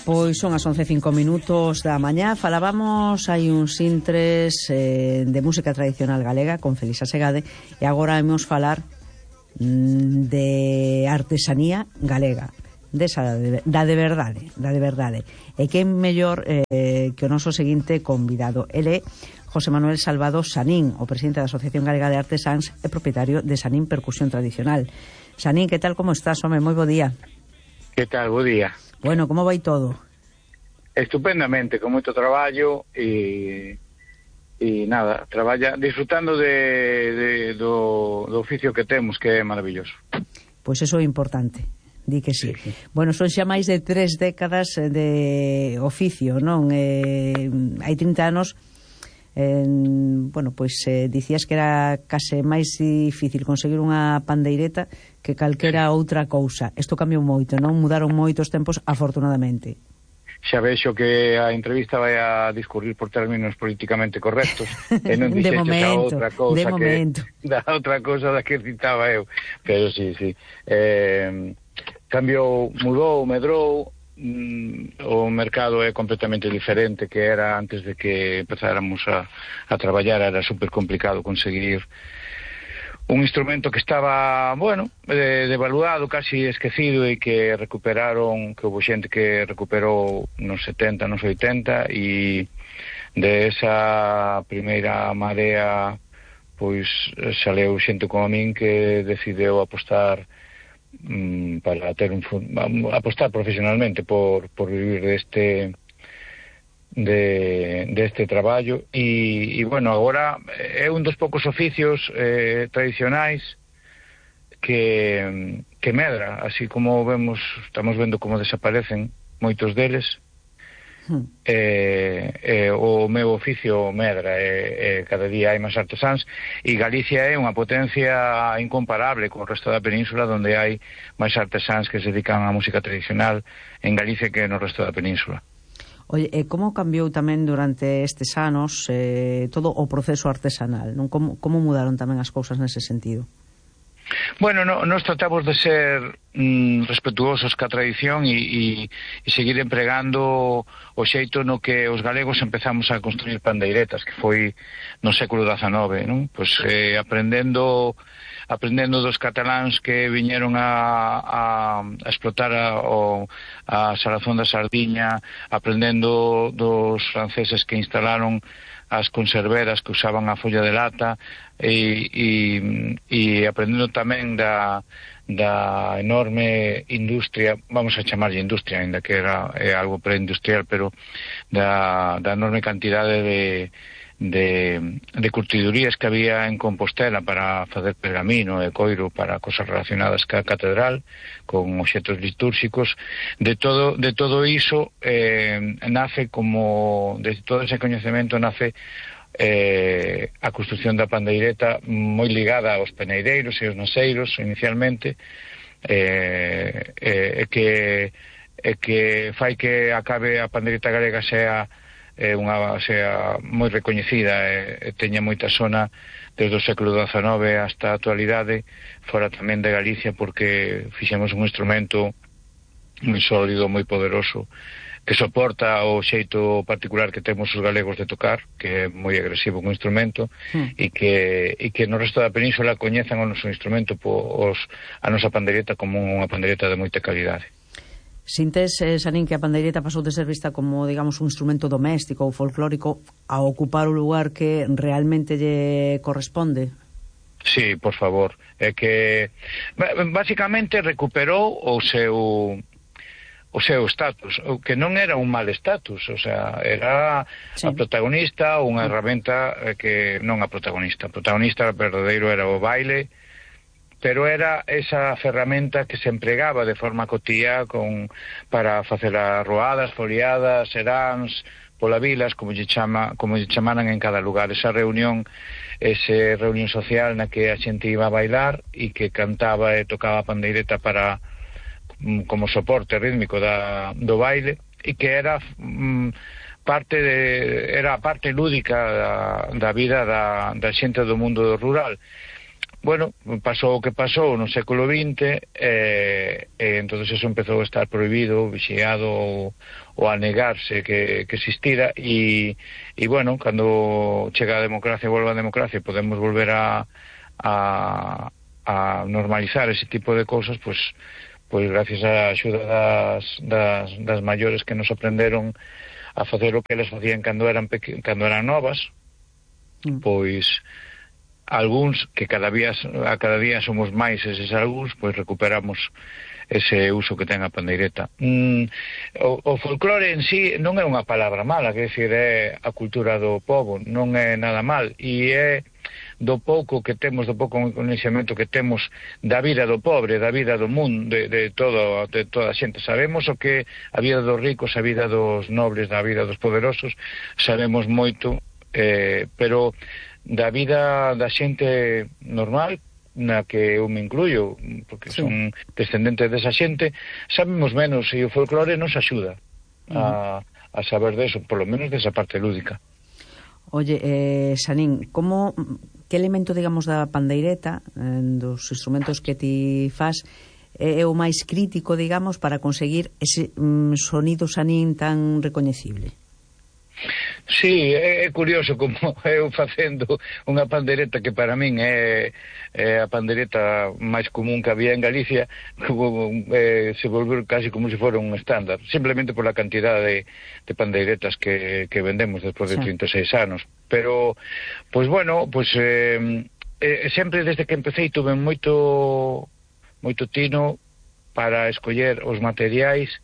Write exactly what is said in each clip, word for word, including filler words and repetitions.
Pois son as once e cinco minutos da mañá. Falábamos hai uns intres eh, de música tradicional galega con Felisa Segade, e agora vamos falar mm, de artesanía galega, desa de, da de verdade, da de verdade. E que é mellor eh, que o noso seguinte convidado. Ele é José Manuel Salvado Sanín, o presidente da Asociación Galega de Artesáns e propietario de Sanín Percusión Tradicional. Sanín, que tal, como estás, home? Moi bo día. Que tal, bo día. Bueno, como vai todo? Estupendamente, con moito traballo e, e nada, traballa disfrutando de, de, do, do oficio que temos, que é maravilloso. Pois eso é importante, di que sí. Sí, sí. Bueno, son xa máis de tres décadas de oficio, non? Eh, hai trinta anos, eh, bueno, pois eh, dicías que era case máis difícil conseguir unha pandeireta que calquera outra cousa. Isto cambiou moito, non? Mudaron moitos tempos, afortunadamente. Xa vexo que a entrevista vai a discurrir por términos políticamente correctos e non dixeches a outra cousa de momento. que da outra cousa da que citaba eu, pero sí, sí. Eh, cambiou, mudou, medrou, mm, o mercado é completamente diferente que era antes de que empezáramos a, a traballar. Era super complicado conseguir un instrumento que estaba, bueno, eh, devaluado, casi esquecido, e que recuperaron, que houve xente que recuperou nos setenta, nos oitenta, e de esa primeira marea pois saleu xente como a min que decideu apostar mm, para ter un apostar profesionalmente por, por vivir deste de deste traballo e, e bueno, agora é un dos poucos oficios eh, tradicionais que, que medra, así como vemos, estamos vendo como desaparecen moitos deles. hmm. eh, eh, o meu oficio medra, eh, eh, cada día hai máis artesáns, e Galicia é unha potencia incomparable co resto da península, onde hai máis artesáns que se dedican á música tradicional en Galicia que no resto da península. Oye, e como cambiou tamén durante estes anos eh, todo o proceso artesanal, non? Como, como mudaron tamén as cousas nese sentido? Bueno, no, nos tratamos de ser mm, respetuosos ca tradición e, e, e seguir empregando o xeito no que os galegos empezamos a construir pandeiretas, que foi no século dezanove, non? Pois eh, aprendendo aprendendo dos cataláns que viñeron a, a, a explotar a, o, a salazón da sardiña, aprendendo dos franceses que instalaron as conserveras que usaban a folla de lata, e, e, e aprendendo tamén da, da enorme industria, vamos a chamarlle industria, ainda que era é algo preindustrial, pero da, da enorme cantidade de de, de curtidurías que había en Compostela para facer pergamino e coiro para cosas relacionadas ca catedral, con obxetos litúrxicos. De todo, de todo iso eh, nace como, de todo ese coñecemento nace eh, a construcción da pandeireta, moi ligada aos peneireiros e aos naseiros inicialmente, eh, eh, que, eh, que fai que acabe a pandeireta galega sea é unha sea moi recoñecida e, e teña moita sona desde o século dezanove hasta a actualidade, fora tamén de Galicia, porque fixemos un instrumento moi sólido, moi poderoso, que soporta o xeito particular que temos os galegos de tocar, que é moi agresivo un instrumento, mm. e que e que no resto da península coñezan o noso instrumento, os, a nosa pandeireta como unha pandeireta de moita calidade. Sintes, eh, Sanín, que a pandeireta pasou de ser vista como, digamos, un instrumento doméstico ou folclórico a ocupar o lugar que realmente lle corresponde? Sí, por favor. É que basicamente recuperou o seu o seu status, o que non era un mal status, o sea, era sí. a protagonista, unha herramienta que non a protagonista. A protagonista verdadeiro era o baile, pero era esa ferramenta que se empregaba de forma cotía con, para facer as roadas, foliadas, seráns, polavilas, como lle chama, como lle chamaran en cada lugar, esa reunión, ese reunión social na que a xente iba a bailar e que cantaba e tocaba a pandeireta para como soporte rítmico da, do baile, e que era mm, parte de, era a parte lúdica da, da vida da, da xente do mundo rural. bueno, pasou o que pasou no século vinte, e, e entonces eso empezou a estar prohibido, vixiado ou, ou a negarse que, que existira, e, e bueno, cando chega a democracia, volve a democracia, podemos volver a, a, a normalizar ese tipo de cousas, pois, pois gracias á axuda das, das, das maiores que nos aprenderon a facer o que eles facían cando eran, peque, cando eran novas, mm. pois algúns, que cada día, a cada día somos máis eses algúns, pois recuperamos ese uso que ten a pandeireta. Mm, o, o folclore en sí non é unha palabra mala, que decir, é a cultura do pobo, non é nada mal, e é do pouco que temos, do pouco conhecemento que temos da vida do pobre, da vida do mundo, de, de, todo, de toda a xente. Sabemos o que a vida dos ricos, a vida dos nobles, a vida dos poderosos, sabemos moito, eh, pero da vida da xente normal, na que eu me incluyo, porque sí. son descendentes desa xente, sabemos menos, e o folclore nos axuda a, a saber deso, por lo menos desa parte lúdica. Oye, eh, Xanín, como, que elemento, digamos, da pandeireta, eh, dos instrumentos que ti fas, é o máis crítico, digamos, para conseguir ese mm, sonido, Xanín, tan recoñecible? Sí, é curioso como eu facendo unha pandereta que para min é, é a pandereta máis común que había en Galicia, como, eh, se volveu casi como se fora un estándar, simplemente por la cantidad de, de pandeiretas que, que vendemos despois de sí. trinta e seis anos. Pero, pois bueno, pois eh, eh, sempre desde que empecé tuve moito moito tino para escoller os materiais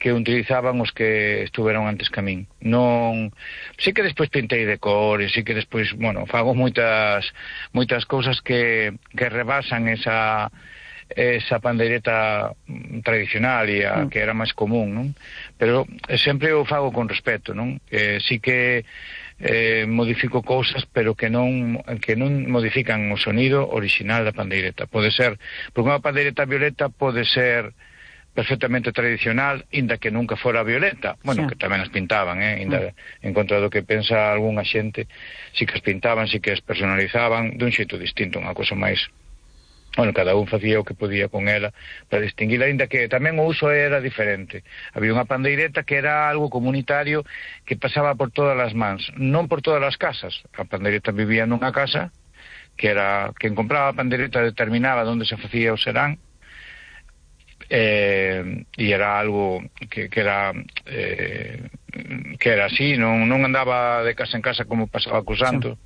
que utilizaban os que estuveron antes que a min. Non, sí que despois pintei de cores, sí que despois, bueno, fago moitas moitas cousas que, que rebasan esa esa pandeireta tradicional e a mm. que era máis común, non? Pero sempre o fago con respeto, non? Eh, sí que eh, modifico cousas, pero que non que non modifican o sonido original da pandeireta. Pode ser, porque unha pandeireta violeta pode ser perfectamente tradicional, inda que nunca fora violeta, bueno, sí. que tamén as pintaban, eh, inda, mm. en contra do que pensa algunha xente, si que as pintaban, si que as personalizaban dun xeito distinto, unha cosa máis, bueno, cada un facía o que podía con ela para distinguila, inda que tamén o uso era diferente. Había unha pandeireta que era algo comunitario que pasaba por todas as mans, non por todas as casas. A pandeireta vivía nunha casa, que era quen compraba a pandeireta determinaba onde se facía o serán, eh, e era algo que, que era eh, que era así, non, non andaba de casa en casa como pasaba co santo,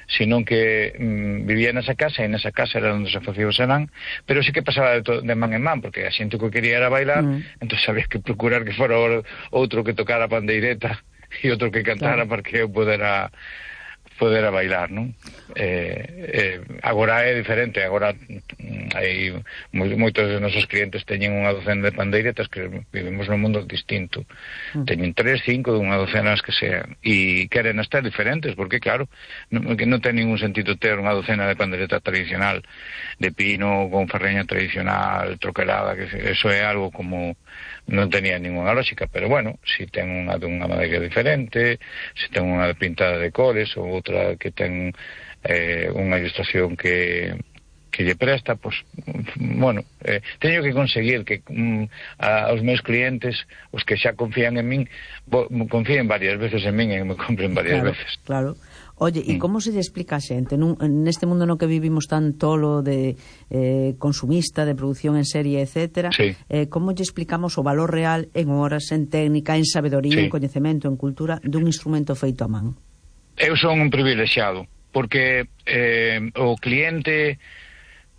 sí. sino que mm, vivía nesa casa, e nesa casa era onde se facía o serán, pero sí que pasaba de, to, de man en man, porque a xente que quería era bailar, mm. entón había que procurar que fora outro que tocara a pandeireta e outro que cantara, claro, para que eu podera poder a bailar, non? Eh, eh, agora é diferente, agora hai moitos dos nosos clientes teñen unha docena de pandeiretas, que vivimos nun mundo distinto, mm. teñen tres, cinco, unha docena as que sean, e queren estar diferentes, porque claro, non, que non ten ningún sentido ter unha docena de pandeireta tradicional de pino, con ferreña tradicional troquelada, que eso é algo como non tenía ninguna lógica, pero bueno, si ten unha de unha madeira diferente, si ten unha pintada de cores, ou outra que ten eh, unha ilustración que que lle presta, pois, bueno, eh, teño que conseguir que mm, a, aos meus clientes, os que xa confían en min, bo, confíen varias veces en min e me compren varias claro, veces. Claro. Oye, e mm. como se lle explica a xente nun, neste mundo no que vivimos tan tolo de eh, consumista, de producción en serie, etcétera, sí. eh, como lle explicamos o valor real en horas, en técnica, en sabedoría, sí. en coñecemento, en cultura dun instrumento feito a man? Eu son un privilexiado, porque eh, o cliente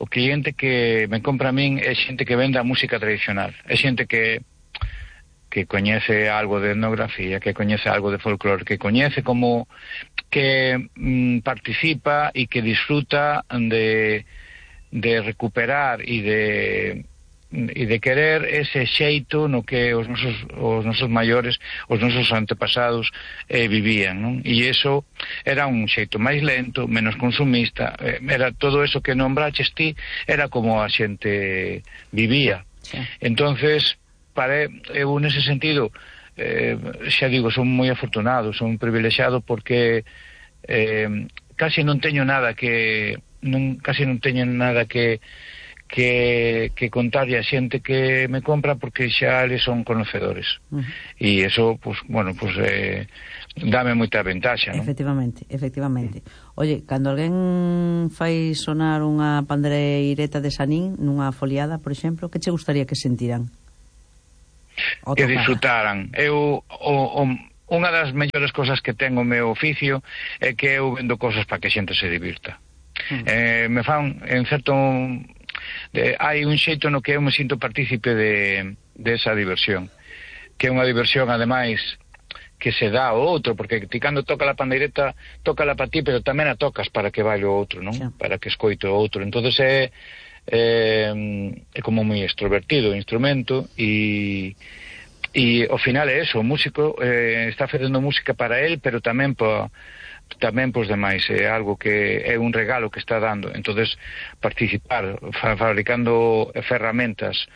o cliente que me compra a min é xente que vende a música tradicional, é xente que que coñece algo de etnografía, que coñece algo de folclore, que coñece como que mm, participa e que disfruta de, de recuperar e de e de querer ese xeito no que os nosos, os nosos maiores, os nosos antepasados eh, vivían, non? E iso era un xeito máis lento, menos consumista, eh, era todo eso que nombraches ti, era como a xente vivía. Sí. Entonces, para eu nese sentido, eh, xa digo, son moi afortunado, son privilexiado porque eh, casi non teño nada que non, casi non teño nada que que, que contarlle a xente que me compra, porque xa eles son conocedores. Uh -huh. E eso, pues, bueno, pues eh, dame moita ventaxa, non? Efectivamente, efectivamente. Oye, cando alguén fai sonar unha pandeireta de Sanín nunha foliada, por exemplo, que che gustaría que sentiran? Que disfrutaran. Eu, o, o, unha das mellores cosas que ten o meu oficio é que eu vendo cosas para que a xente se divirta. Uh -huh. eh, me fan, en certo... De, hai un xeito no que eu me sinto partícipe de, de esa diversión, que é unha diversión ademais que se dá ao outro, porque ti cando toca a pandeireta tócala para ti, pero tamén a tocas para que baile o outro, non? Sí. Para que escoite o outro. Entonces é, é, é como moi extrovertido o instrumento, e e ao final é eso, o músico eh, está facendo música para él, pero tamén para tamén pois demais, é algo que é un regalo que está dando. Entonces participar fa, fabricando ferramentas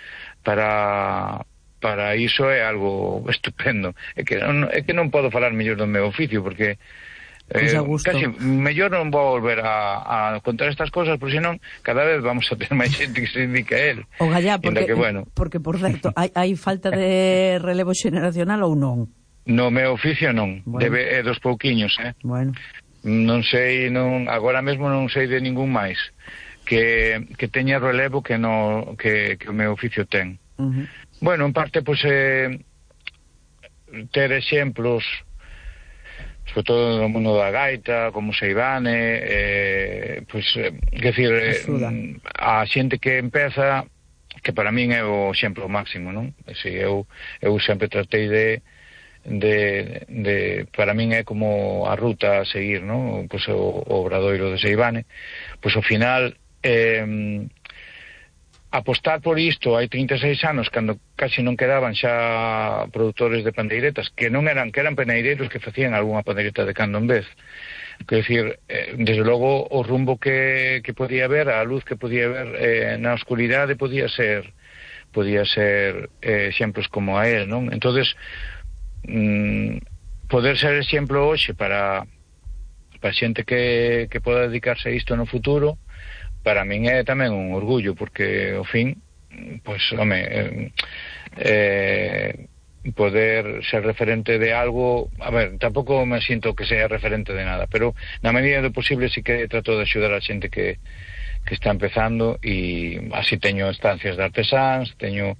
para para iso é algo estupendo. É que non, é que non podo falar mellor do meu oficio, porque eh, casi mellor non vou volver a, a contar estas cosas, porque senón cada vez vamos a ter máis xente que se dedica a él. O gallá, porque, que, bueno, porque por certo, hai, hai falta de relevo xeneracional ou non? No meu oficio non, bueno. Debe é dos pouquiños, eh. Bueno. Non sei, non, agora mesmo non sei de ningún máis que, que teña relevo que no que, que o meu oficio ten. Uh -huh. Bueno, en parte, pois, eh, ter exemplos, sobre todo no mundo da gaita, como Seivane, eh, pois, eh, que decir, eh, a xente que empeza, que para min é o exemplo máximo, non? Si, eu, eu sempre tratei de De, de, para min é como a ruta a seguir, ¿no? Pues o, o obradoiro de Seivane, pois ao final eh, apostar por isto hai trinta e seis anos, cando casi non quedaban xa produtores de pandeiretas, que non eran, que eran peneireiros que facían algunha pandeireta de cando en vez. Quer decir, eh, desde logo o rumbo que, que podía haber, a luz que podía haber eh, na oscuridade podía ser podía ser eh, exemplos como a él, non? Entonces Mm, poder ser exemplo hoxe para para xente que, que poda dedicarse a isto no futuro, para min é tamén un orgullo, porque ao fin, pois, home, eh, eh, poder ser referente de algo, a ver, tampouco me sinto que sea referente de nada, pero na medida do posible sí que trato de axudar a xente que, que está empezando, e así teño estancias de artesáns, teño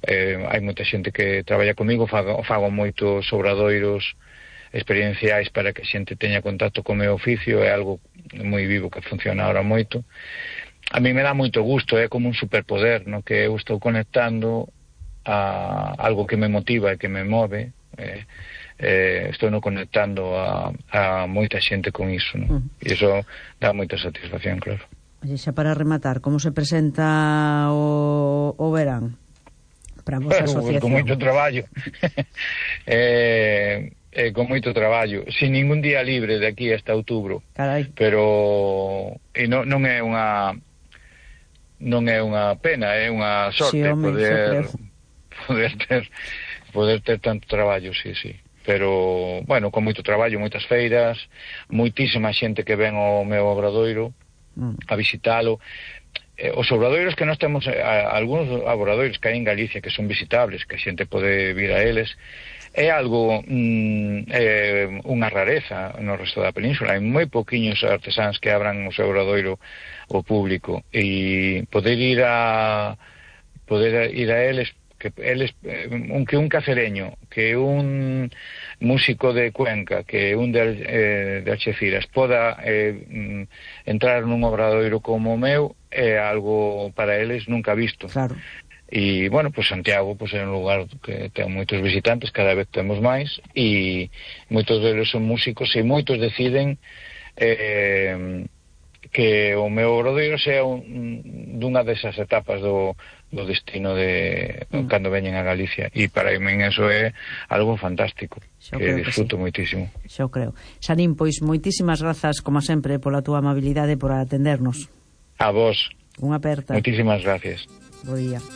Eh, hai moita xente que traballa comigo, fago, fago moitos obradoiros experienciais para que a xente teña contacto co meu oficio, é algo moi vivo que funciona ahora moito. A mí me dá moito gusto, é como un superpoder, no? Que eu estou conectando a algo que me motiva e que me move, eh, eh, estou no conectando a, a moita xente con iso, no? Mm. E iso dá moita satisfacción, claro. Oye, xa para rematar, como se presenta o, o verán? Para a vosa asociación? Con moito traballo. eh, eh, con moito traballo. Sin ningún día libre de aquí hasta outubro. Carai. Pero e non, non é unha non é unha pena, é unha sorte, sí, home, poder poder ter poder ter tanto traballo, sí, sí. Pero, bueno, con moito traballo, moitas feiras, moitísima xente que ven ao meu obradoiro mm. a visitalo. Os obradoiros que nós temos, algúns obradoiros que hai en Galicia que son visitables, que a xente pode vir a eles, é algo mm, é unha rareza no resto da península. Hai moi poquiños artesáns que abran o seu obradoiro ao público, e poder ir a poder ir a eles, que eles, un, que un cacereño, que un músico de Cuenca, que un de, eh, de Alxeciras poda eh, entrar nun obradoiro como o meu, é algo para eles nunca visto. Claro. E, bueno, pues Santiago pues, é un lugar que ten moitos visitantes, cada vez temos máis, e moitos deles son músicos, e moitos deciden eh, que o meu obradoiro sea un, dunha desas etapas do, do destino de mm. cando veñen a Galicia, e para min eso é algo fantástico, Xo que disfruto que sí. moitísimo. Xo creo. Sanín, pois moitísimas grazas, como sempre, pola túa amabilidade por atendernos. A vos. Unha aperta. Moitísimas gracias. Bo día.